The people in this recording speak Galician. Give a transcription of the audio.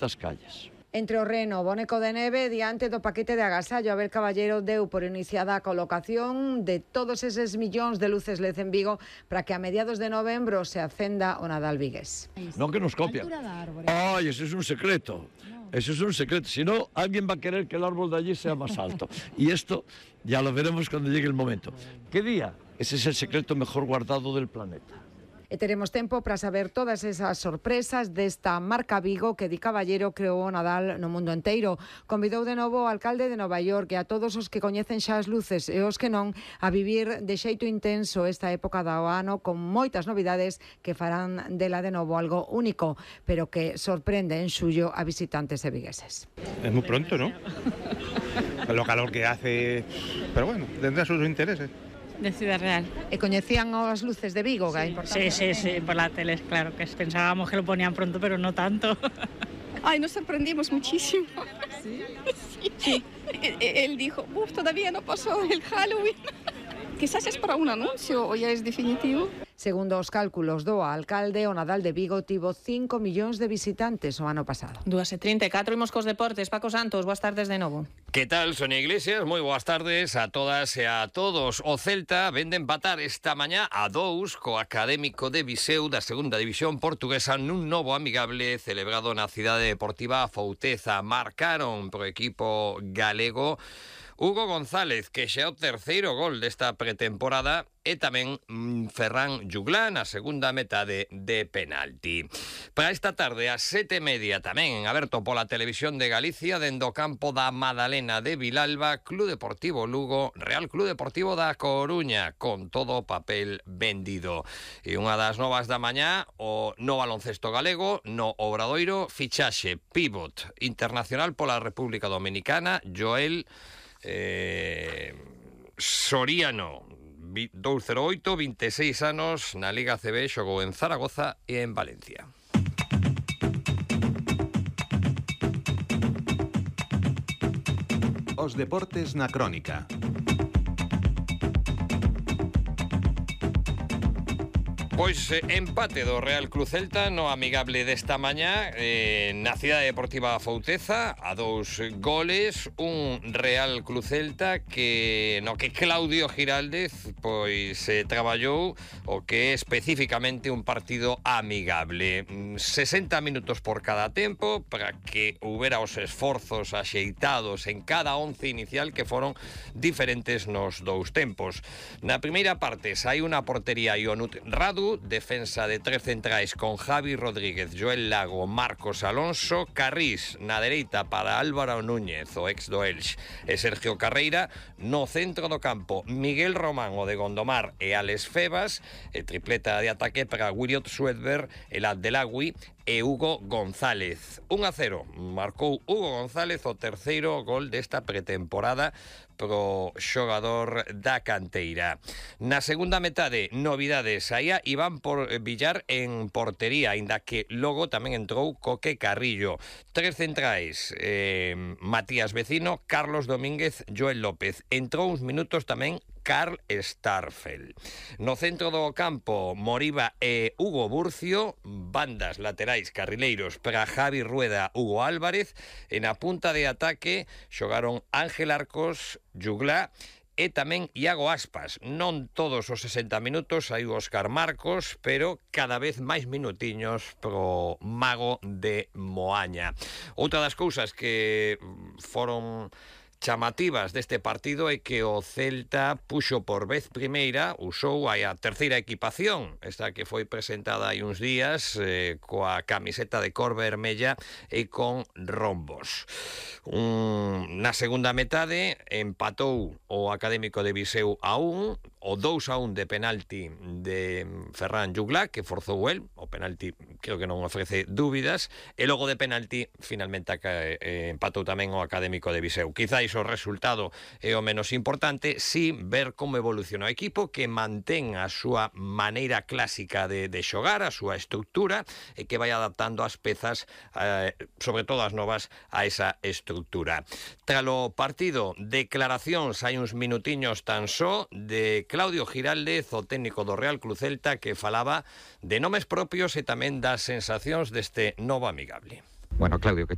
das calles. Entre o reno, boneco de neve diante do paquete de agasallo. Abel Caballero deu por iniciada a colocación de todos eses millóns de luces LED en Vigo para que a mediados de novembro se acenda o Nadal vigués. Non que nos copian. Ay, ese es un secreto. Eso es un secreto. Si no, alguien va a querer que el árbol de allí sea más alto. Y esto ya lo veremos cuando llegue el momento. ¿Qué día? Ese es el secreto mejor guardado del planeta. E teremos tempo para saber todas esas sorpresas desta marca Vigo que Di Caballero creou o Nadal no mundo enteiro. Convidou de novo o alcalde de Nova York e a todos os que coñecen xa as luces e os que non a vivir de xeito intenso esta época do ano con moitas novidades que farán dela de novo algo único, pero que sorprende en xullo a visitantes e vigueses. Es muy pronto, ¿no? Lo calor que hace, pero bueno, tendrá sus intereses. De Ciudad Real. E coñecían as luces de Vigo, que é importante. Sí, por la tele, claro, que pensábamos que lo ponían pronto, pero no tanto. Ay, nos sorprendimos muchísimo. ¿Sí? Sí. Él dijo, todavía no pasó el Halloween. Quizás es para un anuncio o ya es definitivo. Segundo os cálculos do alcalde, o Nadal de Vigo tivo 5 millóns de visitantes o ano pasado. 2:34, imos cos deportes. Paco Santos, boas tardes de novo. Que tal, Sonia Iglesias? Moi boas tardes a todas e a todos. O Celta vende empatar esta mañá a 2 co Académico de Viseu da segunda división portuguesa nun novo amigable celebrado na cidade deportiva Fouteza. Marcaron pro equipo galego Hugo González, que xa é o terceiro gol desta pretemporada, e tamén Ferran Juglá na segunda metade de penalti. Para esta tarde, ás 7:30, tamén en aberto pola Televisión de Galicia, dende o campo da Madalena de Vilalba, Club Deportivo Lugo, Real Club Deportivo da Coruña, con todo o papel vendido. E unha das novas da mañá, o no baloncesto galego, no Obradoiro, fichaxe pívot internacional pola República Dominicana, Joel Soriano, 208, 26 anos, na Liga CB, xogou en Zaragoza e en Valencia. Os deportes na crónica. Pois empate do Real Club Celta no amigable desta mañá na cidade deportiva Fouteza a 2 goles, un Real Club Celta que no que Claudio Giraldez pois traballou o que é especificamente un partido amigable. 60 minutos por cada tempo para que houbera os esforzos axeitados en cada 11 inicial que foron diferentes nos dous tempos. Na primeira parte sai unha portería Ionut Radu, defensa de 3 centrais con Javi Rodríguez, Joel Lago, Marcos Alonso, Carrís na dereita para Álvaro Núñez, o ex do Elx, e Sergio Carreira. No centro do campo, Miguel Román, o de Gondomar, e Alex Febas, e tripleta de ataque para Williot Swedberg, el Abdelagui e Hugo González. 1-0, marcou Hugo González o terceiro gol desta pretemporada pro xogador da canteira. Na segunda metade, novidades, saía Iván Villar en portería, aínda que logo tamén entrou Coque Carrillo. 3 centrais, Matías Vecino, Carlos Domínguez, Joel López. Entrou uns minutos tamén Karl Starfel. No centro do campo, Moriba e Hugo Burcio, bandas laterais carrileiros para Javi Rueda, Hugo Álvarez, e na punta de ataque xogaron Ángel Arcos, Juglá e tamén Iago Aspas. Non todos os 60 minutos hai Óscar Marcos, pero cada vez máis minutiños pro mago de Moaña. Outra das cousas que foron chamativas deste partido é que o Celta puxo por vez primeira, usou a terceira equipación, esta que foi presentada hai uns días, coa camiseta de cor vermella e con rombos. Na segunda metade empatou o Académico de Viseu a 1, o 2-1 de penalti de Ferran Juglá, que forzou el, o penalti creo que non ofrece dúbidas, e logo de penalti finalmente empatou tamén o Académico de Viseu. Quizáis o resultado é o menos importante, si ver como evoluciona o equipo, que mantén a súa maneira clásica de xogar, a súa estructura, e que vai adaptando as pezas, sobre todo as novas, a esa estructura. Tralo partido, declaracións hai uns minutiños tan só de Claudio Giraldez, o técnico do Real Club Celta, que falaba de nomes propios e tamén das sensacións deste novo amigable. Bueno, Claudio, ¿qué